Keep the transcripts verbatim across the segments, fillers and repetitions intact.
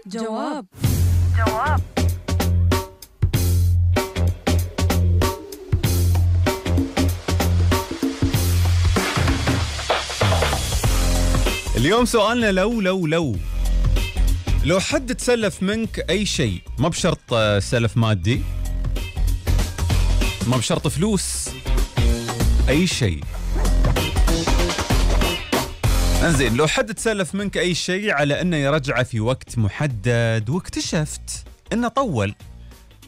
جواب جواب اليوم سؤالنا لو لو لو لو حد تسلف منك أي شيء، ما بشرط سلف مادي، ما بشرط فلوس، أي شيء. انزين، لو حد تسلف منك أي شيء على أنه يرجعه في وقت محدد واكتشفت أنه طول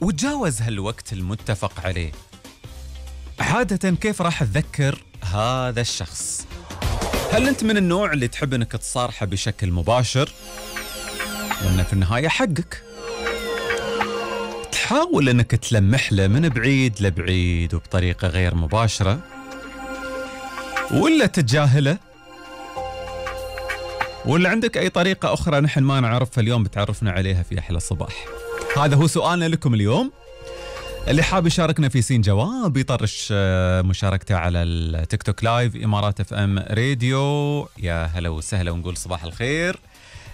وتجاوز هالوقت المتفق عليه، عادة كيف راح تذكر هذا الشخص؟ هل أنت من النوع اللي تحب أنك تصارحه بشكل مباشر وأنه في النهاية حقك، تحاول أنك تلمح له من بعيد لبعيد وبطريقة غير مباشرة، ولا تتجاهله، ولا عندك أي طريقة أخرى نحن ما نعرفها اليوم بتعرفنا عليها في أحلى الصباح؟ هذا هو سؤالنا لكم اليوم. اللي حاب يشاركنا في سين جواب يطرش مشاركته على التيك توك لايف إمارات اف ام راديو. يا هلا وسهلا، ونقول صباح الخير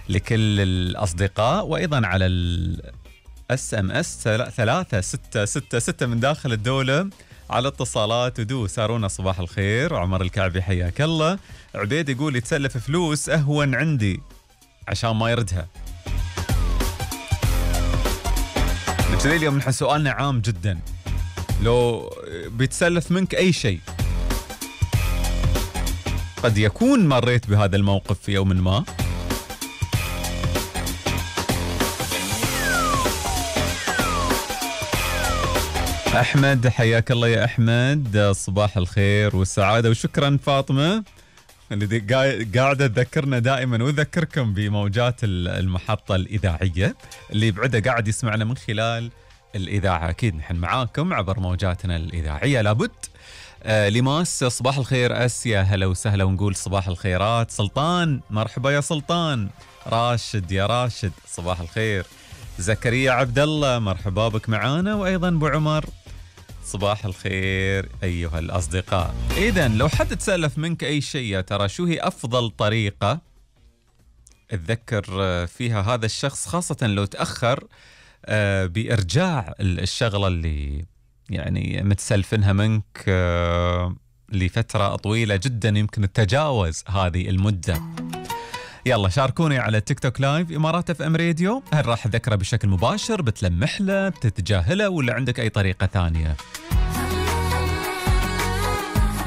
لكل الأصدقاء، وأيضا على الاس ام اس ثلاثة ستة ستة ستة من داخل الدولة على اتصالات ودو. سارونا صباح الخير. عمر الكعبي حياك الله. عبيد يقول يتسلف فلوس أهون عندي عشان ما يردها. نبتدي اليوم نحن سؤالنا عام جدا. لو بيتسلف منك أي شيء، قد يكون مريت بهذا الموقف في يوم ما، أحمد حياك الله يا أحمد، صباح الخير والسعادة وشكرا. فاطمة اللي قاعدة تذكرنا دائما وذكركم بموجات المحطة الإذاعية، اللي يبعده قاعد يسمعنا من خلال الإذاعة، أكيد نحن معاكم عبر موجاتنا الإذاعية لابد. آه لماس صباح الخير. أسيا هلا وسهلا، ونقول صباح الخيرات. سلطان مرحبا يا سلطان. راشد يا راشد صباح الخير. زكريا عبد الله مرحبا بك معانا، وأيضا أبو عمر صباح الخير أيها الأصدقاء. إذن لو حد تسألف منك أي شيء، يا ترى شو هي أفضل طريقة تذكر فيها هذا الشخص، خاصة لو تأخر بإرجاع الشغلة اللي يعني متسلفنها منك لفترة طويلة جدا، يمكن تتجاوز هذه المدة؟ يلا شاركوني على تيك توك لايف إمارات اف ام راديو. هل راح أذكره بشكل مباشر، بتلمح له، بتتجاهله، ولا عندك أي طريقة ثانية؟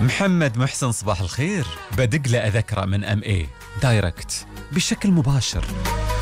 محمد محسن صباح الخير. بدق له أذكره من ام اي دايركت بشكل مباشر.